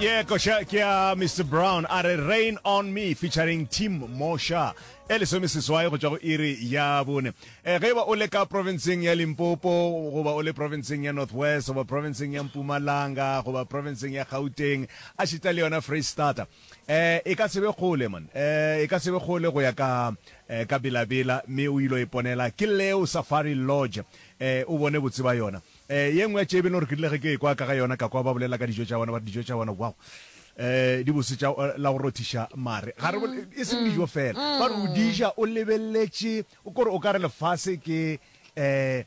Ye koša ke ya Mr Brown a re Rain on Me featuring Tim Mosha e lesomeseswai go tšwa go iri ya bone. E, ge e ba o le ka provinceng ya Limpopo goba o le provinceng ya North West goba provinceng ya Mpumalanga goba provinceng ya Gauteng a šita le yona Freistata e, e ka se be kgole man e, e ka se be kgole go ya ka e, ka Bela-Bela mme o ilo iponela ke Leo Safari Lodge e, o bone botse ba yona. Eh, ye nngwe ya tše e be le gore ke rile ge ke ekwa ka ga yona, ka kwa ba bolela ka dijo tša bona, ba re dijo tša bona, wow, eh, di bose tša la go rothiša mare. Ga re bole, e seng dijo fela, ba re o di ja o lebeletše, o kore o ka re lefase ke, eh,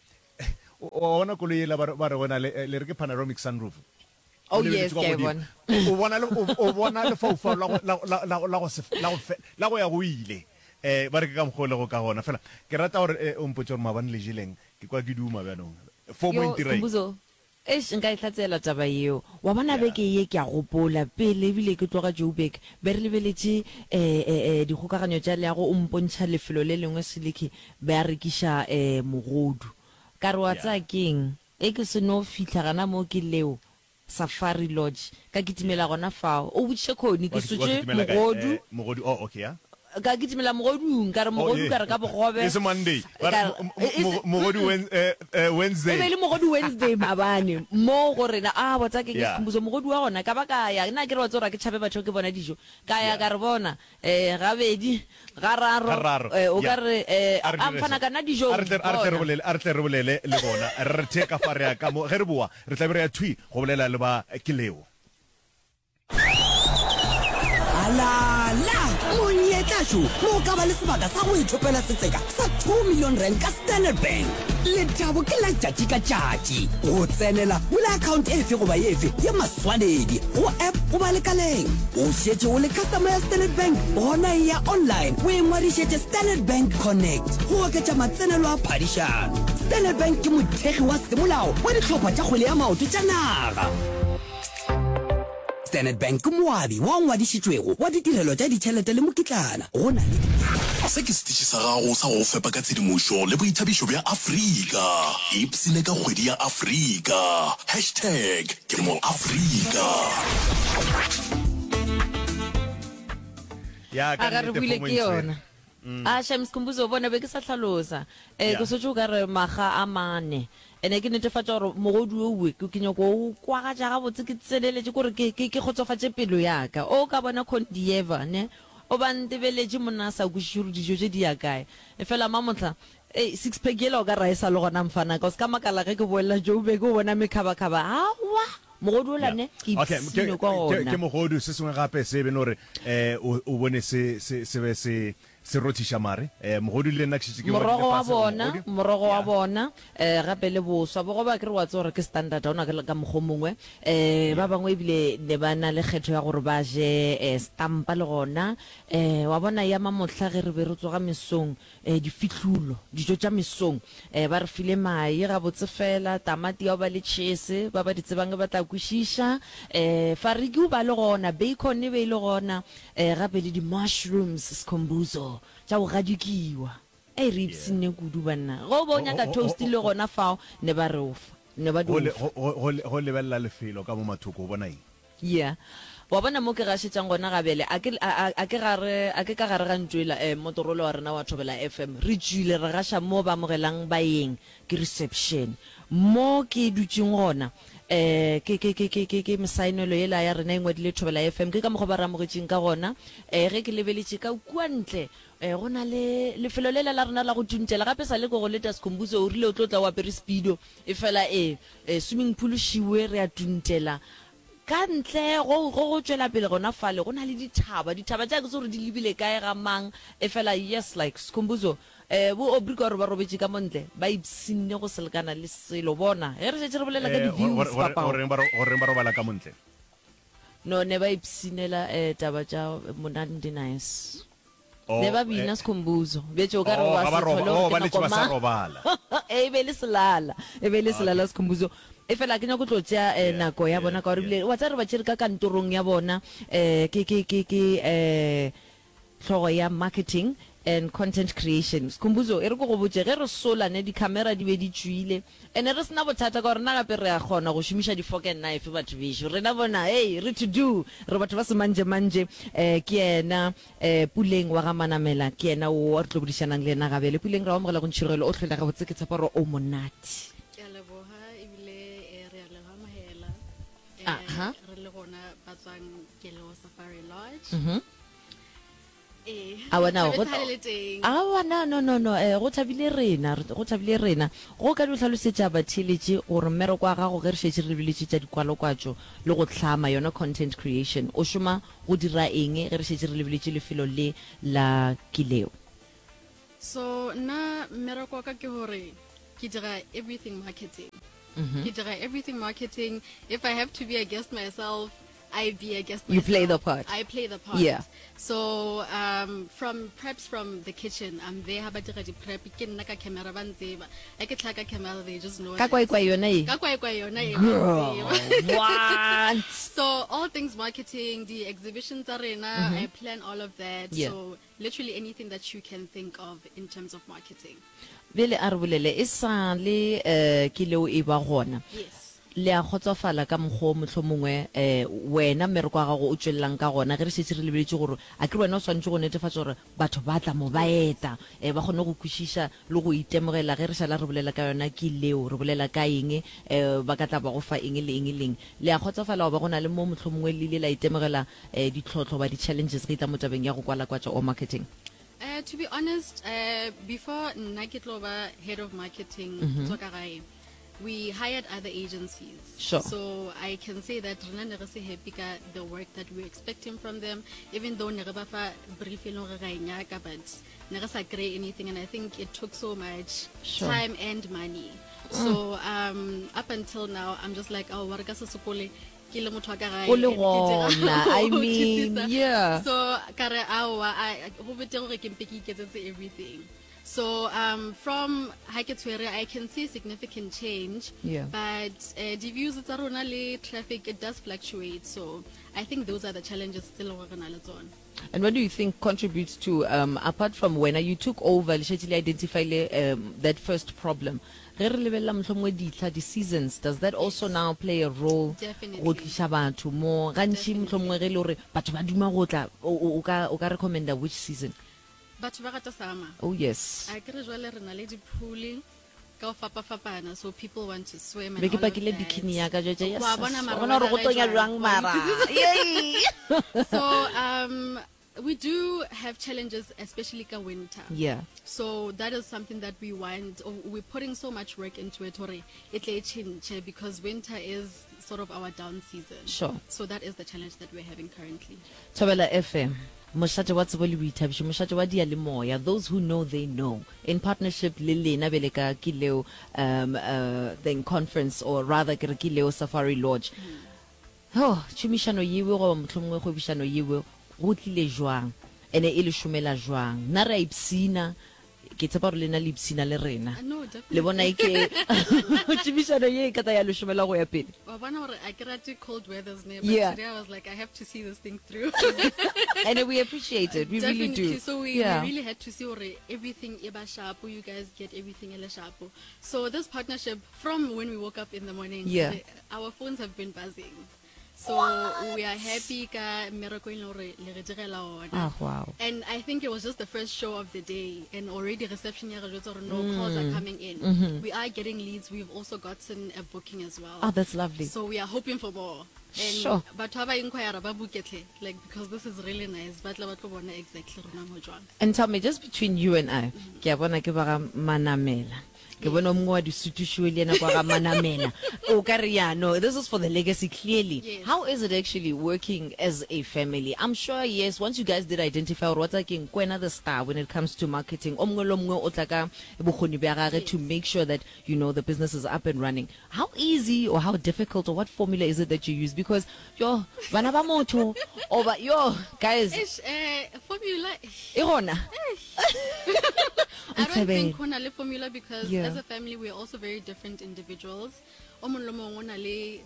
o wa bona koloi yela ba re, ba re go na le, le re ke panoramic sunroof. Oh O yes, lebeletše kwa ke a e godimo. bona. O bona le, o, o bona lefaufau la go, la, la, la, la go se, la go fe, la go ya go ile. Eh, ba re ke ka mokgwa o lego ka gona. Fela, ke rata gore, eh, o mpotše gore maabane le jeleng. Ke kwa ke duma bjanong. Fomo e Yo, ntira eng? Skhumbuzo, eish, nka e hlatsela taba yeo. Wa bona Yeah. beke ye ke a gopola, pele ebile ke tloga Joburg, be re lebeletše eh, eh, eh, dikgokaganyo tša leago, o mpontšha lefelo le lengwe Seliki, be a rekiša eh, mogodu. Ka re wa Yeah. tseba keng? Ge ke se no fihla gana moo ke leo, Safari Lodge, ka kitimela gona fao. O botšiše Connie, ke Wa ki- wa sotše kitimela kae? mogodu. Eh, mogodu, oh, okay, ya. Ka kitimela mogodung, ka re Oh, mogodu, ye. ka re ka bogobe. E se Monday. Ba re Ka mo- mo- e- e se- mo- mogodu mm-mm. Wen-, eh, eh, E be Wednesday. e le mogodu Wednesday maabane, mo go rena. A botsa ke ke Yeah. Skhumbuzo, mogodu wa gona. Ka ba ka ya, nna ke re wa tseba gore ga ke tšhabe batho ge ke bona dijo. Ka ya Yeah. ka re bona, Eh, gabedi, gararo, Gararo, eh, o ka ya. re, eh, A re a dire mfana so. ka nna A dijong, re tle, a re tle re bona. bolele, a re tle re bolele le bona. Re the ka fa re ya ka mo. Ge re boa, re tla be re ya thwi go bolela le ba Ke Leo. Alala! Monyetla šo mo o ka ba le sebaka sa go ithopela setseka sa 2 million rand ka Standard Bank. Lethabo ke la tšatši ka tšatši. Go tsenela, bula account efe goba efe ya maswanedi go app goba lekaleng. O šetše o le customer ya Standard Bank? Gona eya online o ingwadišetše Standard Bank Connect go oketša matsenelo a phadišano. Standard Bank ke mothekgi wa semolao wa dihlopha tša kgwele ya maoto tša naga. Standard Bank ke moabi wa ngwadišitšwego wa ditirelo tša ditšhelete le mokitlana. Go na le di. Se ke setiši sa gago sa go go fepa ka tshedimošo le boithabišo bja Afrika. Ipshine ka kgwedi ya Afrika. Hashtag ke mo Afrika. Ya, ka A ga re nnete buile fomo ke e ntshwere. yona. A shame Skhumbuzo bona be ke sa hlalosa. Eh Yeah. ke sotše o ka re maga a mane. Ene ke netefatša gore mogodu owe ke ke nyako o kwagatša gabotse ke tseneletše kore ke ke ke kgotsofatše pelo ya ka. O ka bona Condieva ne o ba ntebeletše monna a sa kwešiše gore dijo tše di ya kae. Efela mamohla ei six pack yela o ka re ga e sa le gona mfanaka. O se ka makala ge ke boela Joburg o bona mekhabakgaba. Aowa! Mogodu ola Yeah. ne ke Okay, ke, ipshine kwa ke, ona. ke mogodu. Se sengwe gape se e be le gore eh, o, o bone se, se, se be se, se rothiša mare. Eh, mogodu le nna ke šetše ke ngwadile Morogo wa fase gore bona, mogodu. morogo wa Yeah. bona, eh, gape le boswa. Bogobe akere wa tseba gore ke standard, ha ona ka mokgwa o mongwe. Eh, ba Yeah. bangwe ebile ne ba na le kgetho ya gore ba je eh, stampa le gona. Eh, wa bona ya mamohla ge re be re tsoga mesong, eh, difihlulo, dijo tša mesong. Eh, ba re file mae gabotse fela, tamati ya go ba le tšhese, ba ba di tsebang ba tla kwešiša. Eh, fariki o ba le gona, bacon e be e le gona, eh, gape le di-mushrooms, Skhumbuzo, tša go gadikiwa. Ei, re ipshinne kudu, banna. Ge o be o nyaka toast le gona fao, ne ba re o fa, ne ba di o fa. Go lebelela lefelo ka mo mathoko, o bona eng? Yeah. Wa bona mo ke gašetšang gona gabjale, a ke, a, a, a ke gare, a ke ka gare ga ntlo yela, eh, motorola wa rena wa Thobela FM. Re tšwile, re gaša mo ba amogelang baeng, ke reception. Mo ke dutšeng gona, eh, ke, ke, ke, ke, ke, ke mesaenelo yela ya rena e ngwadile Thobela FM. Ke ka mokgwa ba re amogetšeng ka gona. Eh, ge ke lebeletše ka kua ntle, eh, go na le lefelo lela la rena la go tuntela. Gape sa le ko go leta Skhumbuzo, o rile o tlo tla o apere speedo. Efela, eh, eh, swimming pool šiwe, re a tuntela. Ka ntle go, go, go tšwela pele gona fale, go na le dithaba. Dithaba tša ke tse gore di lebile kae ga mang, efela yes, like, Skhumbuzo, eh, bo Aubrey ka gore ba robetše ka mo ntle, ba ipshinne go se lekana le selo. Bona, ge re šetše re bolela ka Eh, di-views, gore, gore, papao. goreng ba, goreng ba robala ka mo ntle? No, ne ba ipshinela, eh, taba tša monandi nice. Oh, Ne ba bina eh, Skhumbuzo. Bjetše o ka re oh, wa ga ba se roba, hlole oh, gore ba ke letše nako ba sa mang. robala. E be e le selala, e be e le selala Okay. Skhumbuzo. Efela ke nyako tlo tšea eh, Yeah, nako ya yeah, bona ka gore yeah. ebile wa tseba re ba tšere ka kantorong ya bona eh, ke, ke, ke, ke eh, hlogo ya marketing. and content creation. Skhumbuzo, e re ke go botše, ge re sola ne di-camera di be di tšwile, ene re sena bothata ka gore nna gape re a kgona go šomiša di-fork and knife batho bešo. Rena bona, hei, re to do, re batho ba semanjemanje. Um ke yena um Puleng wa ga Manamela, ke yena wo re tlo bodišanang le yena gabjale. Puleng, re a amogela go Ntšhirogelo, o hlwele gabotse, ke tshepa gore o monate. Ke a leboga ebile eh, re a le amogela. Eh, Aha. re le gona ba tswang Keleo Safari Lodge. Mhm. Ee. Aowa, na, go- Thabetse ha le le teng. Aowa, na, no, no, no, eh, go thabile rena, re- go thabile rena. Go ka di hlalosetša batheeletši gore mmereko wa gago ge re šetše re lebeletše tša dikwalokwatšo le go hlama yona content creation, o šoma go dira eng ge re šetše re lebeletše lefelo le la Kileo? So nna mmereko wa ka ke gore ke dira everything marketing. Ke dira everything marketing. If I have to be a guest myself, I be a guest You play the myself. part. I play the part. Yeah. So um, from preps from the kitchen, I'm there. Ha ba dira di prep, ke nna ka camera ba ntseba. Ha ke tlhaha ka camera, they just know. Ka that. kwaekwae yona e? Ka kwaekwae yona e, ba Girl, ntseba. what? So all things marketing, the exhibitions tsa rena, I plan all of that. Mm-hmm. Yeah. So literally anything that you can think of in terms of marketing. Bjale a re bolele, e sa le eh, ke leo e ba gona. Yes. Le a kgotsofala ka mokgwa wo mohlomongwe um wena mmereko wa gago o tšwelelang ka gona ge re šetše re lebeletše gore a ke re wena o swanetše go netefatša gore batho ba tla mo ba eta um ba kgone go kwešiša le go itemogela ge re šala re bolela ka yona ke leo re bolela ka eng um ba ka tla ba go fa eng le eng le eng. Le a kgotsofala goba go na le mo mohlomongwe le ile la itemogela um ditlhohlo goba di-challenges ge e tla mo tabeng ya go kwalakwatša or marketing? Uh, to be honest, uh, before nna ke tlo ba head of marketing mm -hmm. tswa ka gae We hired other agencies. Sure. So I can say that rena ne re se happy ka the work that we were expecting from them, even though ne re ba fa brief e leng gore ra e nyaka, but ne re sa kry anything, and I think it took so much Sure. time and money. So um, up until now, I'm just like, oh, wa re ka se sokole ke le motho wa ka gae O le and ke dira gona, I go mean, utlwisisa. yeah. So ka re aowa, I- go betere gore ke mpe ke iketsetse everything. So um, from ha ke tshwere I can see significant change. Yeah. But uh, di views tsa rona le traffic it does fluctuate. So I think those are the challenges tse leng gore re na le tsona. And what do you think contributes to um, apart from when you took over le šetše le identifile um, that first problem ge re lebelela mohlomongwe dihla di-seasons does that also Yes. now play a role Definitely. go tliša batho mo gantši Definitely. mohlomongwe ge e le gore batho ba duma go tla o- o o ka o ka recommenda which season Batho ba rata summer. Oh yes. A ke re jwale re na le di-pool ka go fapafapana so people want to swim and Be ke all of pakile that. bikini ya ka jwetša yes. Wa bona mara Wa bona gore go weather tonya e jwang jwang? mara. Yay. So um we do have challenges especially ka winter. Yeah. So that is something that we want or we're putting so much work into it hore e tle e tšhentšhe because winter is sort of our down season. Sure. So that is the challenge that we're having currently. Thobela FM, mošate wa tsebo le boithabišo, mošate wa diyalemoya, those who know they know, in partnership le lena bjale ka Kileo um, uh, thing conference or rather ke re Kileo Safari Lodge. Oh, tšhomišano yewe goba mohlomongwe kgwebišano yewe go tlile jwang ene e le šomela jwang? Nna re a ipshina Ke tshepa gore lena le ipshina le rena. No, Le bona e ke tšhomišano ye e ka tla ya le šomela go ya pele. Wa bona gore a ke rate cold weathers ne, but Yeah. today I was like, I have to see this thing through. And we appreciate it. We really Definitely. do. So we, Yeah. we really had to see gore everything e ba sharp, you guys get everything e le sharp. So this partnership, from when we woke up in the morning, Yeah. our phones have been buzzing. So we are happy ka mmereko e leng gore le re direla ona. Ah, wow. And I think it was just the first show of the day and already reception ya re jwetsa gore no calls Mm. are coming in. Mm-hmm. We are getting leads. We've also gotten a booking as well. Oh, that's lovely. So we are hoping for more. And Sure. batho ba ba inquire ba book-e tlhe, like because this is really nice. Ba tla ba tlo bona exactly rona mo jwang. And tell me, just between you and I, ke a bona ke ba ga Manamela. Ke bone o mongwe wa disutušiwe le yena kwa ga Manamela. O ka re ya, no, this is for the legacy clearly. Yes. How is it actually working as a family? I'm sure, yes, once you guys did identify gore wa tseba keng, ke wena the star when it comes to marketing. O mongwe le o mongwe o tla ka bokgoni bja gage to Yes. make sure that, you know, the business is up and running. How easy or how difficult or what formula is it that you use? Because, yo, bana ba motho, oba, yo, guys. Eish, formula. E gona. I don't Ntshebele. think go na le formula because Yeah. as a family we're also very different individuals. O mongwe le mongwe o na le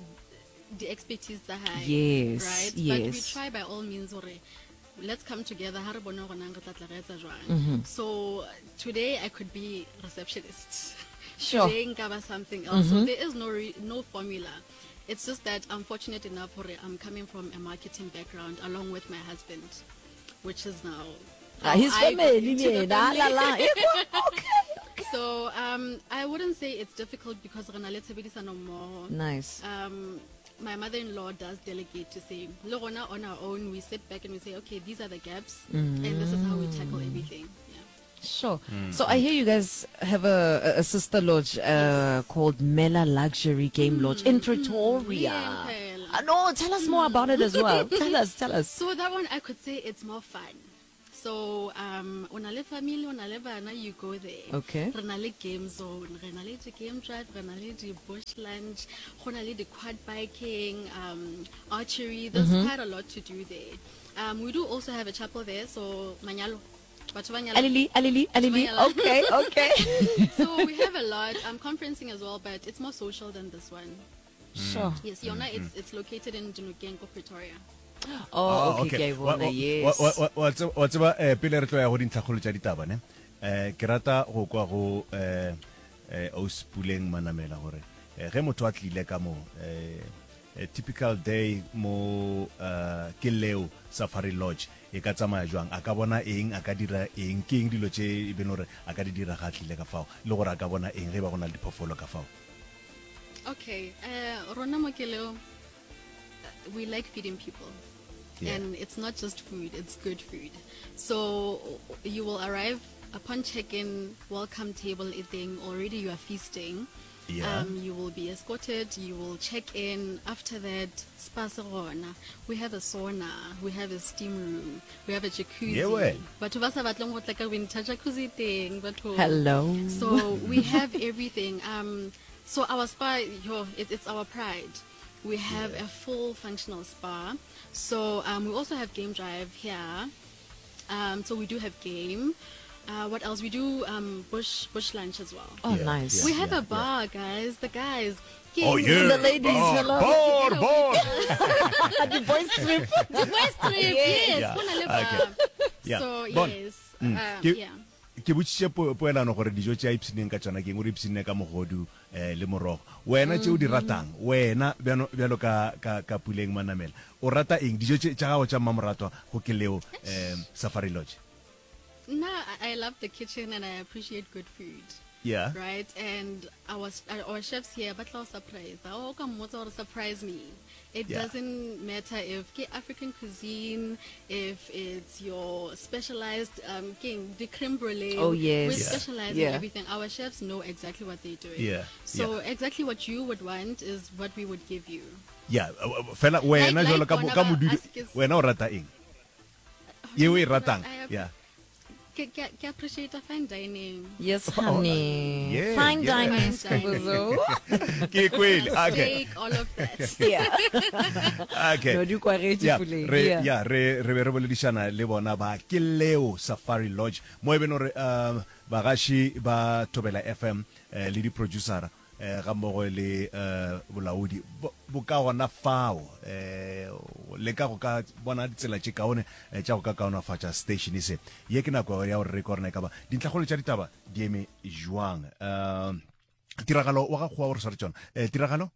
di-expertise tsa hae. Yes, Right? But we yes. try by all means gore Let's come together ha re bone gore nang re tla tla re etsa jwang. So today I could be receptionist. Sure. Today nka ba something else. So there is no re- no formula. It's just that I'm fortunate enough hore I'm coming from a marketing background along with my husband, which is now Ah, his how I got family into le the yena, ah, la, family. la. Ekwa, okay. So I wouldn't say it's difficult because re na le tshebedisano mmoho. Nice. My mother-in-law does delegate to say, le rona on our own, we sit back and we say, okay, these are the gaps, and this is how we tackle everything. Yeah. Sure. So I hear you guys have a, a sister lodge called Mela Luxury Game Lodge in Pretoria. Yeah, in Pretoria. No, tell us more about it as well. Tell us, tell us. So that one, I could say it's more fun. So, o na le family, o na le bana, you go there. Okay. Re na le game zone, re na le di game drive, re na le di bush lunch, go na le di quad biking, archery. There's quite a lot to do there. We do also have a chapel there, so manyalo. Batho ba nyala. Alili, alili, alili. Batho ba nyala. Okay, okay. So we have a lot. I'm conferencing as well, but it's more social than this one. Sure. Yes, yona, it's located in Dinokeng, Pretoria. Oh, okay, ke a e bona, yes. Wa tseba, pele re tlo ya go dintlhakgolo tša ditaba, ne, ke rata go kwa go Ausi Puleng Manamela gore ge motho a tlile ka mo, typical day mo ke leo Safari Lodge e ka tsamaya jwang, a ka bona eng, a ka dira eng, ke eng dilo tše e beng gore a ka di dira ga a tlile ka fao, le gore a ka bona eng ge e ba go na le diphoofolo ka fao. Okay, rona mo ke leo, we like feeding people. Yeah. And it's not just food, it's good food. So you will arrive upon check-in, welcome table eating, already you are feasting. Yeah. You will be escorted, you will check in. After that, spa se gona. We have a sauna, we have a steam room, we have a jacuzzi. Yeah, we. Batho ba sa batleng go tla ka winter jacuzzi teng, batho. Hello. So we have everything. So our spa, yo, it's our pride. We have a full functional spa. So we also have game drive here. So we do have game. What else? We do bush lunch as well. Oh, Yeah, nice. yeah, We have yeah, a bar, guys. The guys. Oh, King. yeah. The ladies, Bar, hello. bar, bar. The boys trip. The boys trip, yes. Yeah. Go na le bar. Okay. Yeah. So, Bon. yes. Ke- Yeah. Ke botšiše poelano gore dijo tše a ipshineng ka tšona ke eng, o re ipshinne ka mogodu le morogo. Wena tše o di ratang, wena bjano, bjalo ka, ka, ka Puleng Manamela, o rata eng? Dijo tše tša gago tša mmamoratwa go ke leo Safari Lodge? Nna, I love the kitchen and I appreciate good food. Yeah. Right? And our chefs here, ba tla o surprise. O ka mmotsa gore surprise me. It Yeah. doesn't matter if ke African cuisine, if it's your specialized, king, the creme brulee. Oh, yes. We Yeah. specialize in Yeah. everything. Our chefs know exactly what they're doing. Yeah. So Yeah. exactly what you would want is what we would give you. Yeah, fela wena Like, jwalo like ka bona ka ba modudi, ask is wena o rata eng? Ye o e ratang? I Yeah. Ke, ke appreciate fine dining. Yes, Oh, honey. yeah, Fine yeah. dining, Fine dining. Skhumbuzo. Ke kwele. Okay. Steak, all of that. Yeah. Okay. No, di kwagetše Yeah, Puleng. re, Yeah. yeah, re, re be re boledišana le bona ba ke leo Safari Lodge mo e beno re bagaši ba Thobela FM le di-producera ga mmogo le bolaodi bo ka gona fao le ka go ka bona ditsela tše kaone tša go ka kaonafatša station se. Ye ke nako ya gore re kwe gore na e ka ba dintlhakgolo tša ditaba di eme jwang. Tiragalo wa ga Kgowa o re sware tšona. Tiragalo?